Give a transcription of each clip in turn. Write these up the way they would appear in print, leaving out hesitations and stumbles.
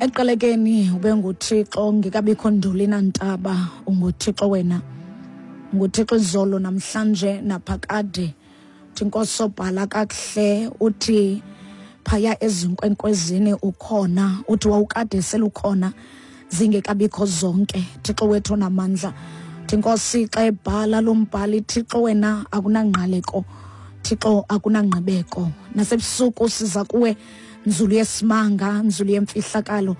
Ekuqalekeni ube nguThixo ngekabikho nduli nantaba, unguThixo wena. NguThixo izolo namhlanje naphakade. Uthi Nkosi obhala kakuhle uthi phaya ezinkwenkwezini ukhona, uthi wawukade selukhona zingekabikho zonke. Thixo wethu onamandla. Uthi Nkosi xa ebhala lo mbhali, Thixo wena akunangqaleko, Thixo akunangqibeko. Nasebusuku siza kuwe nzulu yesimanga, nzulu yemfihlakalo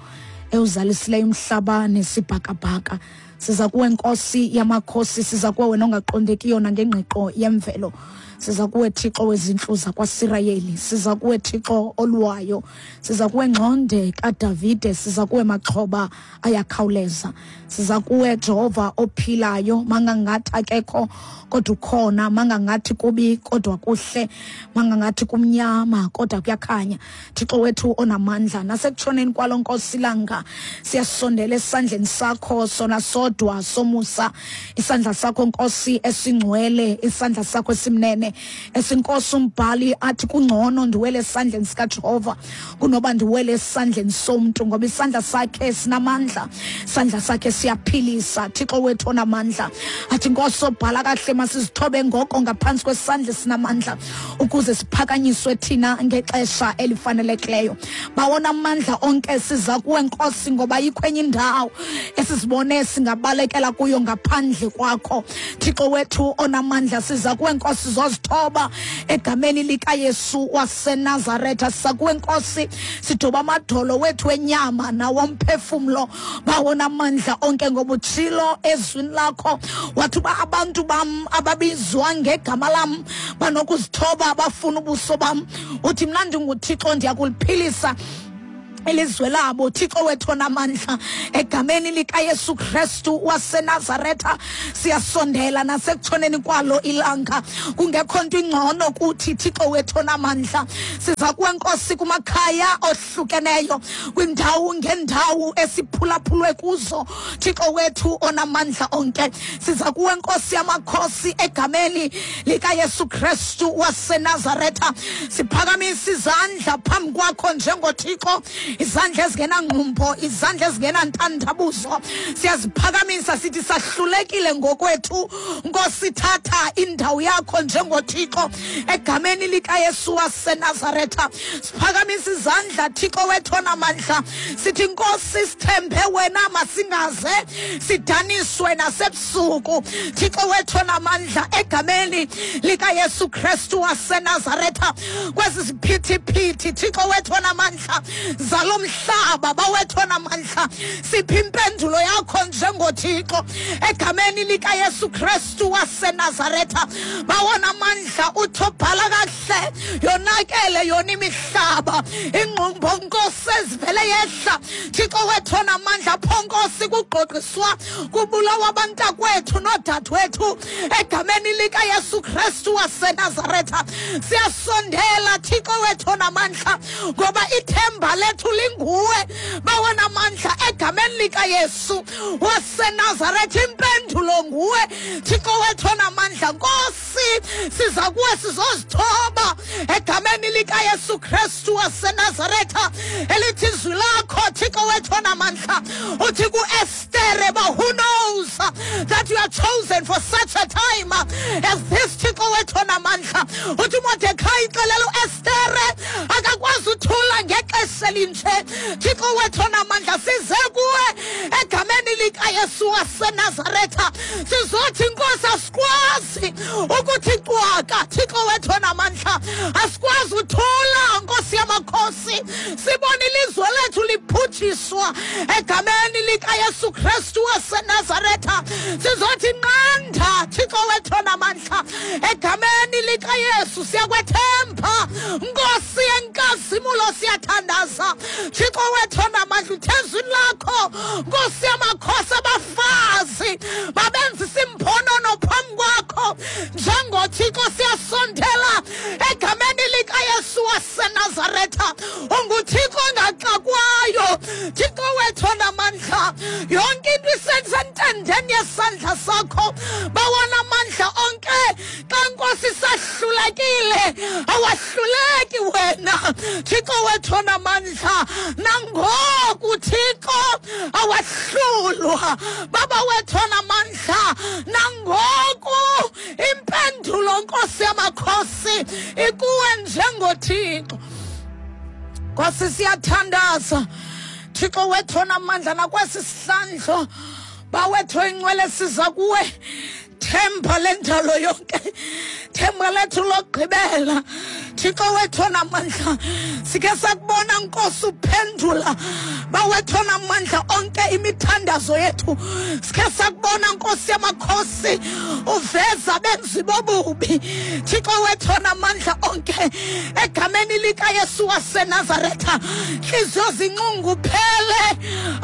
ewuzalisileyo umhlaba nesibhakabhaka. Siza kuwe Nkosi yamakhosi, siza kuwe wena ongaqondekiyo nangengqiqo yemvelo. Siza kuwe Thixo wezintlu zakwaSirayeli, siza kuwe Thixo olwayo, siza kuwe ngxonde kaDavide, siza kuwe maxhoba ayakhawuleza, siza kuwe Jehova ophilayo, mangangathi akekho kodwa ukhona, mangangathi kubi kodwa kuhle, mangangathi kumnyama kodwa kuyakhanya. Thixo wethu onamandla, nasekutshoneni kwalo Nkosi ilanga siyasondela esandleni sakho sona sodwa somusa, isandla sakho Nkosi esingcwele, isandla sakho esimnene, esinkosi umbhali athi kungcono ndiwele esandleni sikaJehova kunoba ndiwele esandleni somntu, ngoba isandla sakhe sinamandla, isandla sakhe siyaphilisa. Thixo wethu onamandla, athi Nkosi obhala kahle masizithobe ngoko ngaphantsi kwesandla esinamandla ukuze siphakanyiswe thina ngexesha elifanelekileyo. Bawona amandla onke, siza kuwe Nkosi, ngoba ayikho enye indawo esizibone singabalekela kuyo ngaphandle kwakho. Thixo wethu onamandla, siza kuwe Nkosi, zozithoba egameni likaYesu waseNazaretha. Siza kuwe Nkosi, sidoba amadolo wethu enyama nawomphefumlo. Bawona amandla onke, ngoba utshilo ezwini lakho wathi uba abantu bam ababizwa ngegama lam banokuzithoba bafuna ubuso bam, uthi mna ndinguThixo ndiyakuliphilisa ilizwe labo. Thixo wethu onamandla, egameni likaYesu Kristu waseNazaretha siyasondela nasekutshoneni kwalo ilanga, kungekho nto ingcono kuthi. Thixo wethu onamandla, siza kuwe Nkosi kumakhaya ohlukeneyo, kwindawo ngendawo esiphulaphulwe kuzo. Thixo wethu onamandla onke, siza kuwe Nkosi yamakhosi egameni likaYesu Kristu waseNazaretha, siphakamisa izandla phambi kwakho njengoThixo, izandla ezingenangqumbo, izandla ezingenantandabuzo, siyaziphakamisa sithi sahlulekile ngokwethu. Nkosi, thatha indawo yakho njengoThixo egameni likaYesu waseNazaretha. Siphakamisa izandla Thixo wethu onamandla, sithi Nkosi sithembe wena, masingaze sidaniswe nasebusuku. Thixo wethu onamandla, egameni likaYesu Kristu waseNazaretha, kwezi ziphithiphithi Thixo wethu onamandla zalo mhlaba, bawethu onamandla, siphi impendulo yakho njengoThixo egameni likaYesu Kristu waseNazaretha. Bawona amandla, uthi obhala kakuhle, yonakele yona imihlaba, ingqumbo Nkosi ezivele yehla. Thixo wethu onamandla, pho Nkosi kugqogqiswa kubulawa abantakwethu noodadewethu egameni likaYesu Kristu waseNazaretha. Siyasondela Thixo wethu onamandla, ngoba ithemba lethu linguwe. Bawona amandla, egameni likaYesu waseNazaretha, impendulo nguwe Thixo wethu onamandla. Nkosi, siza kuwe sizozithoba egameni likaYesu Kristu waseNazaretha, elithi izwi lakho Thixo wethu onamandla, uthi kuEstere, but who knows that you are chosen for such a time as this? Thixo wethu onamandla, uthi uMordecai xelela uEstere akakwazi uthula ngexesha elinje. Thixo wethu onamandla, size kuwe egameni likaYesu waseNazaretha, sizothi Nkosi asikwazi ukuthi cwaka. Thixo wethu onamandla, asikwazi uthula Nkosi yamakhosi, sibone ilizwe lethu liphutshiswa egameni likaYesu Kristu waseNazaretha. Sizothi nqanda Thixo wethu onamandla, egameni likaYesu. Siyakwethemba Nkosi yenkazimulo, siyathandaza Thixo wethu onamandla, uthe ezwini lakho Nkosi yamakhosi, abafazi babenzisa imbonono phambi kwakho. NjengoThixo siyasondela egameni likaYesu waseNazaretha. UnguThixo ongaxakwayo, Thixo wethu onamandla, yonke into isentendeni yesandla sakho. Bawona amandla onke, xa Nkosi sahlulekile, awahluleki wena Thixo wethu onamandla. Nangoku Thixo Wahlulwa Baba wethu onamandla. Nangoku impendulo, Nkosi yamakhosi, ikuwe njengoThixo. Nkosi, siyathandaza, Thixo wethu onamandla, nakwesi sihlandlo, Bawethu oyingcwele, siza kuwe, themba lendalo yonke, themba lethu lokugqibela. Thixo wethu onamandla, sikhe sakubona, Nkosi, uphendula, Bawethu onamandla onke, imithandazo yethu. Sikhe sakubona, Nkosi yamakhosi, uveza benzi bobubi. Thixo wethu onamandla onke, egameni likaYesu waseNazaretha, ntliziyo zinxunguphele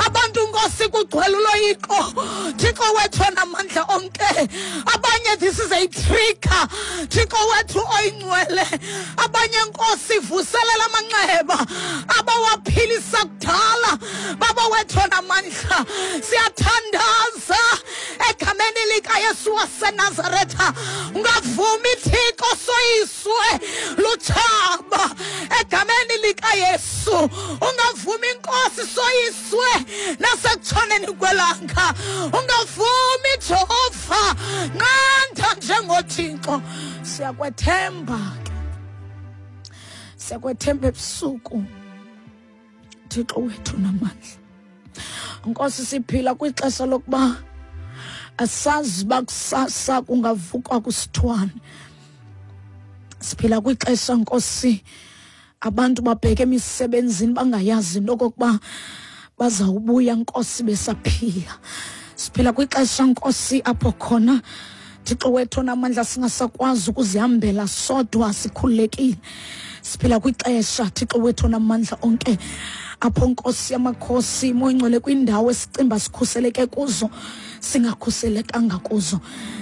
abantu, Nkosi, kugcwele uloyiko. Thixo wethu onamandla onke, abanye this is a trigger. Thixo wethu oyingcwele, abanye, Nkosi, vuselela amanxeba abawaphilisa kudala. Baba wethu onamandla, siyathandaza egameni likaYesu waseNazaretha, ungavumi, Thixo, soyiswe lutshaba. Egameni likaYesu, ungavumi, Nkosi, soyiswe nasekutshoneni kwelanga. Ungavumi, Jehova, nqanda njengoThixo. Siyakwethemba ke, siyakwethemba ebusuku, Thixo wethu namandla. Nkosi, siphila kwixesha lokuba asazi uba kusasa kungavukwa kusithwane. Siphila kwixesha, Nkosi, abantu babheke emisebenzini bangayazi into okokuba bazawubuya, Nkosi, besaphila. Siphila kwixesha, Nkosi, apho khona, Thixo wethu onamandla, singasakwazi ukuzihambela sodwa sikhululekile. Siphila kwixesha, Thixo wethu onamandla onke, apho, Nkosi yamakhosi, Moyingcwele, kwindawo esicimba sikhuseleke kuzo singakhuselekanga kuzo.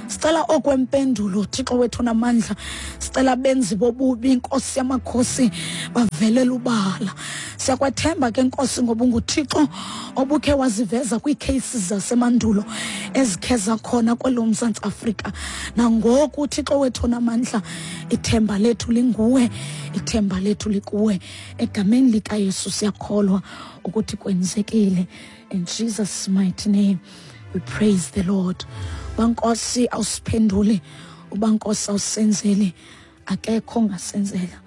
Sicela okwempendulo, Thixo wethu namandla. Sicela benzi bobubi, Nkosi yamakhosi, bavelele ubala. Siyakwethemba ke, Nkosi, ngoba unguThixo obukhe waziveza kwiikheyisi zasemandulo ezikhe zakhona kwelo Mzantsi Afrika. Nangoku, Thixo wethu onamandla, ithemba lethu linguwe, ithemba lethu likuwe. Egameni likaYesu siyakholwa ukuthi kwenzekile. In Jesus' mighty name we praise the Lord. Bankosi awusiphenduli, ubankosi awusenzeli, akekho ongasenzela.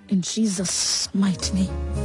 In Jesus' mighty name.